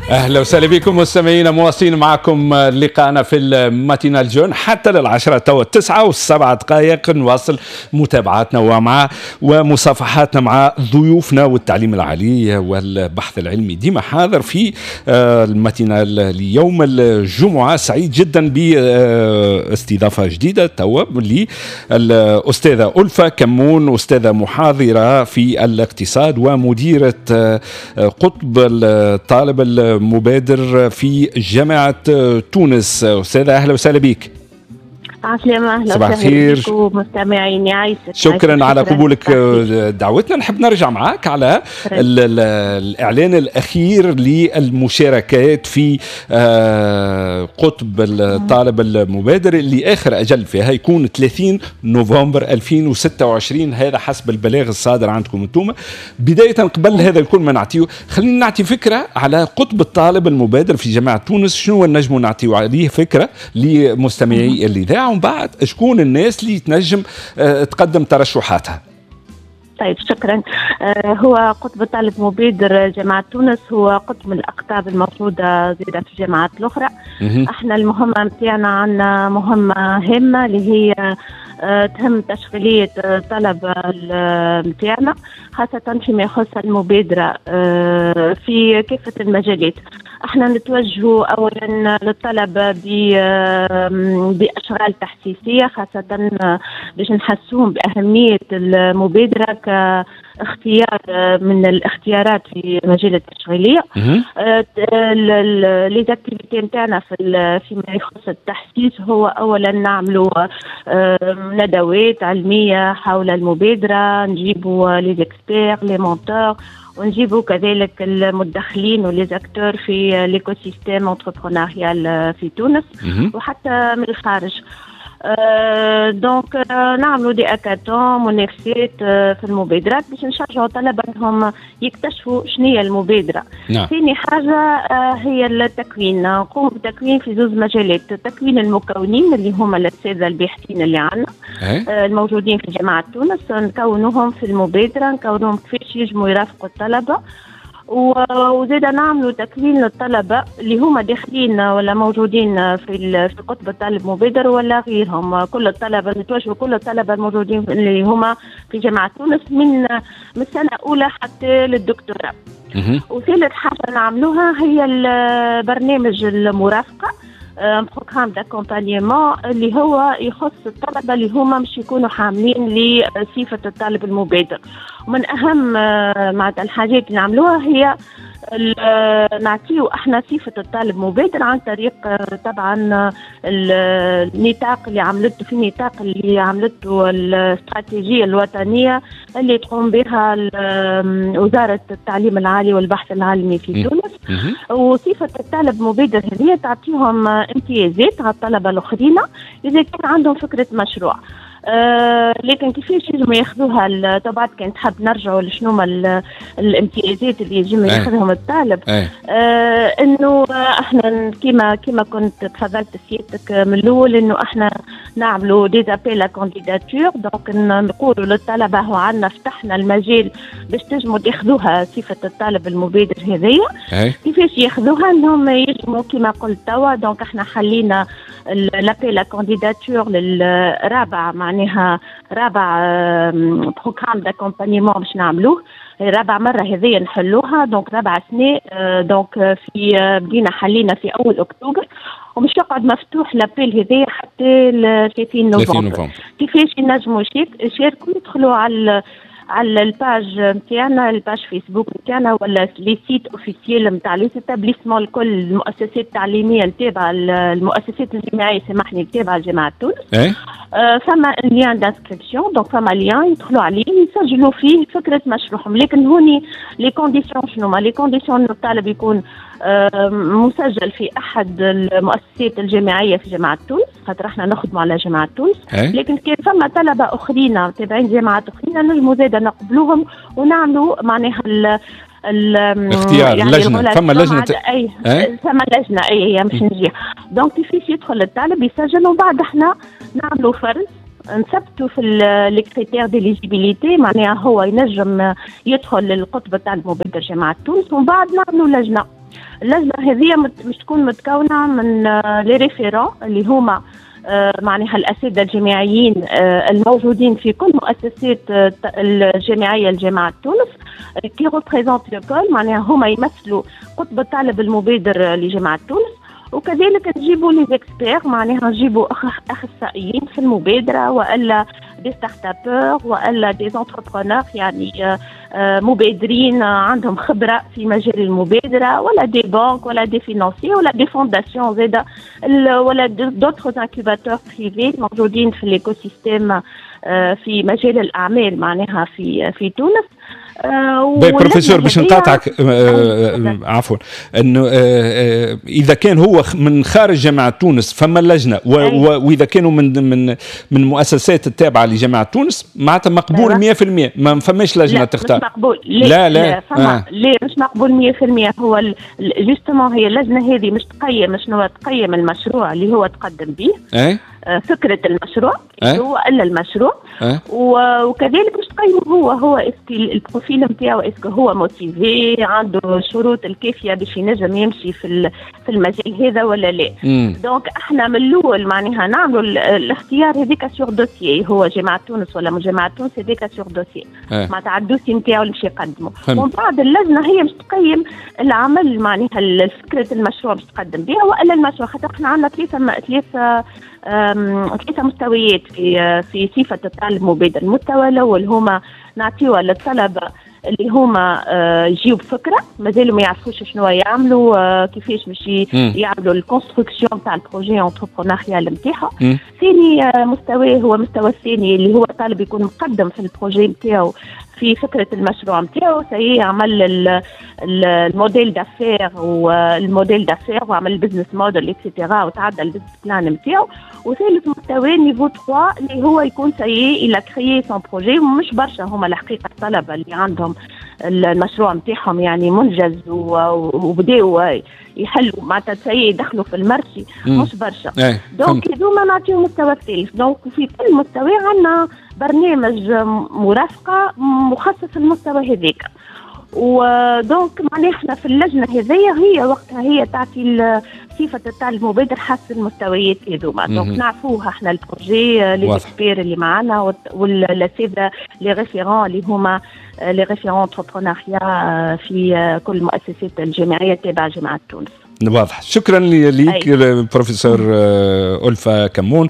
اهلا وسهلا بكم مستمعينا، مواصلين معكم لقاءنا في ال matinale jeune حتى للعشرة، توا 9:07. نواصل متابعاتنا ومع ومصافحاتنا مع ضيوفنا، والتعليم العالي والبحث العلمي ديما حاضر في ال matinale ليوم الجمعة. سعيد جدا باستضافة جديدة توا للأستاذة ألفة كمون، أستاذة محاضرة في الاقتصاد ومديرة قطب الطالب المبادر في جامعة تونس. أستاذة، أهلا وسهلا بك. عسلامة، أهلا. صباح الخير. ومستمعين، يعيشك. شكرا على قبولك دعوتنا. نحب نرجع معك على الإعلان الأخير للمشاركات في قطب الطالب المبادر اللي آخر أجل فيها يكون 30 نوفمبر 2026، هذا حسب البلاغ الصادر عندكم انتم. بداية، قبل هذا الكل ما نعطيه، خلينا نعطي فكرة على قطب الطالب المبادر في جامعة تونس، شنو نجموا نعطيو عليه فكرة لمستمعي الإذاعة، ومن بعد شكون الناس اللي تنجم تقدم ترشحاتها؟ طيب، شكرا. هو قطب الطالب مبادر جامعة تونس هو قطب من الأقطاب الموجودة زادة في الجامعات الأخرى. احنا المهمة نتاعنا، عندنا مهمة هامة اللي هي تهم تشغيلية الطلبة نتاعنا، خاصة فيما يخص المبادرة في كافة المجالات. احنا نتوجه اولا للطلبة باشغال تحسيسيه، خاصة باش نحسوهم باهمية المبادرة كاختيار من الاختيارات في مجال التشغيليه. les activités نتاعنا فيما يخص التحسيس هو اولا نعملوا ندوات علمية حول المبادره، نجيبوا les experts، les mentors، ونجيبوا كذلك المتدخلين و les acteurs في l'écosystème entrepreneurial في تونس وحتى من الخارج. donc نعملوا des hackathons، منافسات في المبادرات، باش نشجعوا الطلبة انهم يكتشفوا شنو هي المبادره. ثاني حاجة هي التكوين، نقوم بتكوين في زوز مجالات: تكوين المكونين اللي هما الاساتذة الباحثين اللي عندنا الموجودين في جامعه تونس، نكونوهم في المبادره، نكونوهم كيفاش يجموا يرافقوا الطلبه، وزاد نعملوا تكوين للطلبة اللي هما داخلين ولا موجودين في قطب الطالب مبادر ولا غيرهم. كل الطلبه، نتوجهوا كل الطلبة الموجودين اللي هما في جامعه تونس من السنة الاولى حتى للدكتوراه. وثالث حاجة نعملوها هي برنامج المرافقه، programme d'accompagnement اللي هو يخص الطلبة اللي هما مش يكونوا حاملين لصفة الطالب المبادر. ومن اهم معناتها الحاجات اللي نعملوها هي نعطيو احنا صفة الطالب مبادر عن طريق طبعا النطاق اللي عملته، في النطاق اللي عملته الاستراتيجية الوطنية اللي تقوم بها وزارة التعليم العالي والبحث العلمي في تونس. وصفه الطالب مبادر هذه تعطيهم امتيازات على الطلبة الاخرين اذا كان عندهم فكرة مشروع. لكن كيفاش ينجموا ياخذوها؟ طبعا كان تحب نرجعوا لشنو الامتيازات اللي ينجم ياخذهم الطالب. انه احنا كيما كنت تفضلت سيادتك من الاول، انه احنا نعملوا des appels à candidature، donc نقولوا للطلبة هو عندنا فتحنا المجال باش تنجموا تاخذوها صفة الطالب المبادر هذيا. كيفاش ياخذوها؟ انهم يجموا كيما قلت توا، donc احنا حلينا l'appel à candidature للرابع، معناها رابع programme d'accompagnement باش نعملوه، رابع مرة هذيا نحلوها، donc رابع سنه. donc في بدينا حلينا في اول اكتوبر ومش يقعد مفتوح l'appel هذايا حتى 30 نوفمبر. كيفاش ينجموا يشاركوا؟ يدخلوا على ال page نتاعنا، ال page فيسبوك نتاعنا، ولا les sites officiels نتاع les établissements الكل، المؤسسات التعليمية التابعه، المؤسسات الجامعيه، سامحني، التابعة لجامعة تونس. فما lien d'inscription، donc فما lien يدخلوا عليه يسجلوا فيه فكرة مشروعهم. لكن هوني les conditions، شنو ما les conditions؟ الطالب يكون مسجل في احد المؤسسات الجامعية في جامعه تونس، خاطر احنا نخدموا على جامعه تونس. لكن كان فما طلبه اخرين تابعين جامعات اخرين نجموا زاده نقبلوهم ونعملوا معناها ال اختيار يعني لجنه، فما لجنه. اي، فما لجنه، اي، هي مش نجي. donc كيفاش يدخل الطالب يسجل، ومن بعد احنا نعملوا فرز، نثبتوا في les critères d'éligibilité، معناها هو ينجم يدخل للقطب تاع المبادر جامعه تونس، ومن بعد نعملوا لجنه. اللجنة هذه مش تكون متكونه من les référents اللي هما معناها الاساتذة الجامعيين الموجودين في كل مؤسسات الجامعية لجامعة تونس qui représentent l'école، معناها هما يمثلوا قطب الطالب المبادر لجامعة تونس. وكذلك نجيبوا les experts، معناها نجيبوا اخصائيين في المبادرة والا des startuppeurs والا des entrepreneurs، يعني مبادرين عندهم خبره في مجال المبادره، ولا des banques ولا des financiers ولا des fondations زاده ولا d'autres incubateurs privés موجودين في l'écosystème في مجال الاعمال معناها في تونس. بروفيسور، باش نقاطعك، عفوا، انه اذا كان هو من خارج جامعه تونس فما لجنه، واذا كانوا من المؤسسات التابعة لجامعة تونس معناتها مقبول 100%، ما فماش لجنة لا تختار؟ مش مقبول. لا لا، لا فما لا، مش مقبول 100%. هو justement هي اللجنة هذه مش تقيم شنو؟ تقيم المشروع اللي هو تقدم به، فكرة المشروع هو الا المشروع، وكذلك مش تقيمه هو est-ce que ال profil نتاعو، est-ce que هو motivé، عنده الشروط الكافيه باش ينجم يمشي في المجال هذا ولا لا. donc احنا من الاول معناها نعملوا الاختيار هذيك sur dossier، هو جامعه تونس ولا مش جامعه تونس، هذيك sur dossier، معناتها على ال dossier نتاعو اللي باش يقدمه. ومن بعد اللجنة هي مش تقيم العمل، معناها فكرة المشروع باش تقدم بها والا المشروع، خاطر احنا عندنا ثلاثه مستويات في صفة الطالب المبادر. المستوى الاول هما نعطيوها للطلبة اللي هما يجيو بفكره، مازالوا ما يعرفوش شنو يعملوا، كيفاش باش يعملوا ال construction تاع ال projet entrepreneurial نتاعهم. ثاني مستوى هو المستوى الثاني اللي هو الطالب يكون مقدم في ال projet نتاعو، في فكرة المشروع نتاعو، ça y est عمل ال modèle d'affaires وال modèle d'affaires وعمل ال business model et cetera وتعدى ال business plan نتاعو. وثالث مستوى niveau 3 اللي هو يكون ça y est il a créé son projet. مش برشا هما الحقيقة الطلبة اللي عندهم المشروع نتاعهم يعني منجز وبداوا يحلوا، معناتها ça y est دخلوا في ال marché، مش برشا. Donc هذوما نعطيهم المستوى الثالث. donc في كل مستوى عندنا برنامج مرافقة مخصص للمستوى هذاك. و donc معناها احنا في اللجنة هذيا هي وقتها هي تعطي صفة الطالب المبادر حسب المستويات هذوما. donc نعرفوها احنا ال projet، les experts اللي معنا والاساتذه les référents اللي هما les référents entrepreneuriat في كل المؤسسات الجامعية التابعة جامعه تونس. واضح، شكرا لك بروفيسور ألفة كمون.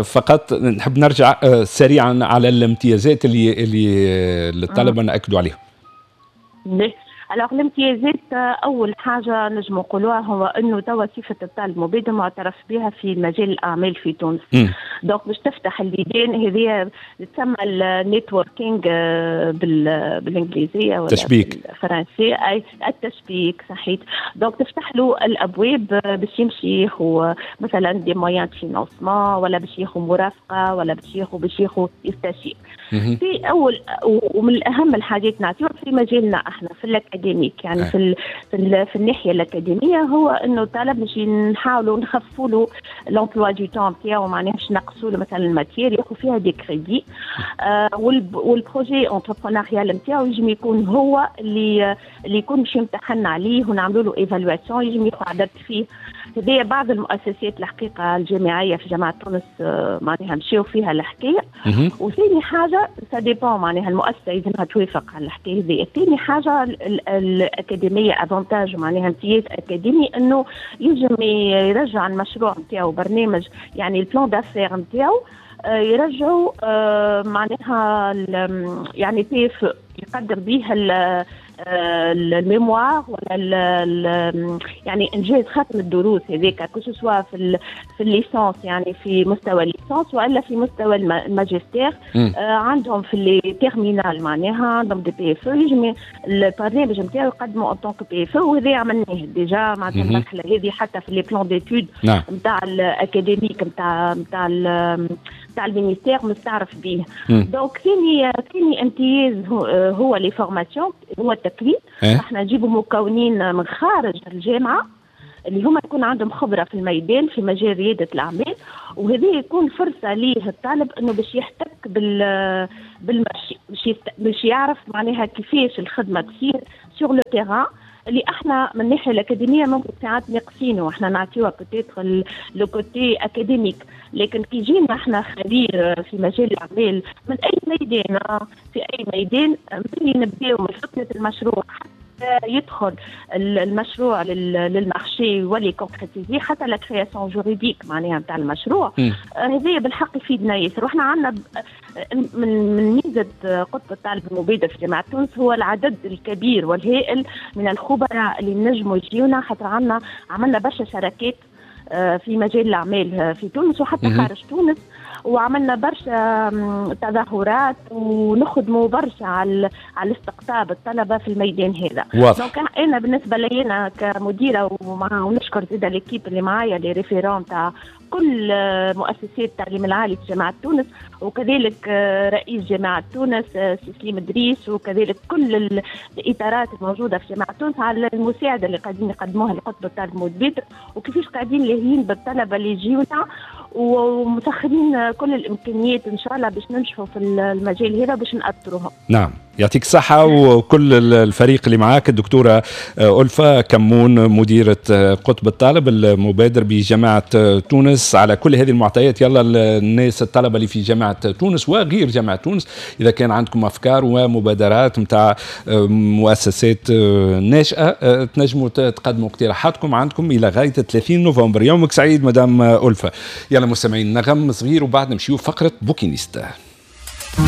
فقط نحب نرجع سريعا على الامتيازات اللي الطلبة نأكدوا عليها. alors الامتيازات، اول حاجة نجم نقولوها هو انه توا صفة الطالب المبادر معترف بها في مجال الاعمال في تونس. donc باش تفتح البيبان، هذه تسمى ال networking بالانجليزية ولا تشبيك. بالفرنسيه، اي التشبيك، صحيح. donc تفتح له الابواب باش يمشي ياخذ مثلا des moyens de financement ولا باش ياخذ مرافقة ولا باش ياخذ يستشير. في اول ومن اهم الحاجات نعطيهم في مجالنا احنا في ال académique، يعني في الناحية الاكاديميه، هو انه الطالب باش نحاولوا نخفوا له l'emploi du temps نتاعو، معناها باش نقصوا له مثلا ال matière، ياخذ فيها des crédits، وال projet entrepreneurial نتاعو يجم يكون هو اللي يكون باش يمتحن عليه ونعملوا له évaluation، يجم ياخذ عدد فيه. هذه بعض المؤسسات الحقيقة الجامعية في جامعه تونس معناها مشاو فيها الحكايه. وثاني حاجه، ça dépend، معناها المؤسسة يلزمها توافق على الحكاية هذه. ثاني حاجة الاكاديميه، avantage معناها امتياز اكاديمي، انه ينجم يرجع المشروع نتاعو، برنامج يعني ال plan d'affaires نتاعو، يرجعوا معناها يعني كيف يقدم به ال mémoire ولا يعني انجاز ختم الدروس هذيك، que ce soit في ال licence، يعني في مستوى ال licence والا في مستوى الماجستير. عندهم في les terminales معناها عندهم des PFE، يجم البرنامج نتاعو يقدموا en tant que PFE، وهذا عملناه déjà معناتها المرحلة هذه حتى في les plans d'études نتاع ال académique نتاع ال ministère مستعرف به. donc ثاني امتياز هو les formations، هو التكوين. احنا نجيبوا مكونين من خارج الجامعة اللي هما يكون عندهم خبره في الميدان في مجال رياده الاعمال، وهذه يكون فرصة ليه الطالب انه باش يحتك بال marché، باش يعرف معناها كيفاش الخدمة تصير sur le terrain. اللي احنا من الناحية الاكاديمية ممكن ساعات ناقصينه، احنا نعطيوها peut-être le côté académique، لكن كي يجينا احنا خبير في مجال الاعمال من اي ميدان، في اي ميدان، من نبداو من فكرة المشروع حتى يدخل المشروع لل marché ويولي concrétisé، حتى la création juridique معناها نتاع المشروع، هذا بالحق يفيدنا ياسر. واحنا عندنا من ميزة قطب الطالب المبادر في جامعه تونس هو العدد الكبير والهائل من الخبراء اللي نجموا يجيونا، خاطر عندنا عملنا برشا شراكات في مجال الاعمال في تونس وحتى خارج تونس، وعملنا برشا تظاهرات ونخدموا برشا على استقطاب الطلبة في الميدان هذا. donc انا بالنسبة لي انا كمديره ونشكر زيد l'équipe اللي معايا، les référents تاع كل مؤسسات التعليم العالي في جامعة تونس، وكذلك رئيس جامعة تونس سي سليم دريس، وكذلك كل الإطارات الموجودة في جامعة تونس على المساعدة اللي قاعدين يقدموها لقطب الطالب المبادر، وكيفاش قاعدين لاهيين بالطلبة اللي يجيونا ومسخرين كل الإمكانيات إن شاء الله باش ننجحوا في المجال هذا باش نأطروهم. نعم، يعطيك الصحة وكل الفريق اللي معاك. الدكتورة ألفة كمون، مديرة قطب الطالب المبادر بجامعة تونس، على كل هذه المعطيات. يلا الناس الطلبة اللي في جامعة تونس وغير جامعة تونس، إذا كان عندكم أفكار ومبادرات متاع مؤسسات ناشئة، تنجموا تقدموا اقتراحاتكم، عندكم إلى غاية 30 نوفمبر. يومك سعيد مدام ألفة. يلا مستمعين، نغم صغير وبعد نمشيو فقرة bouquiniste.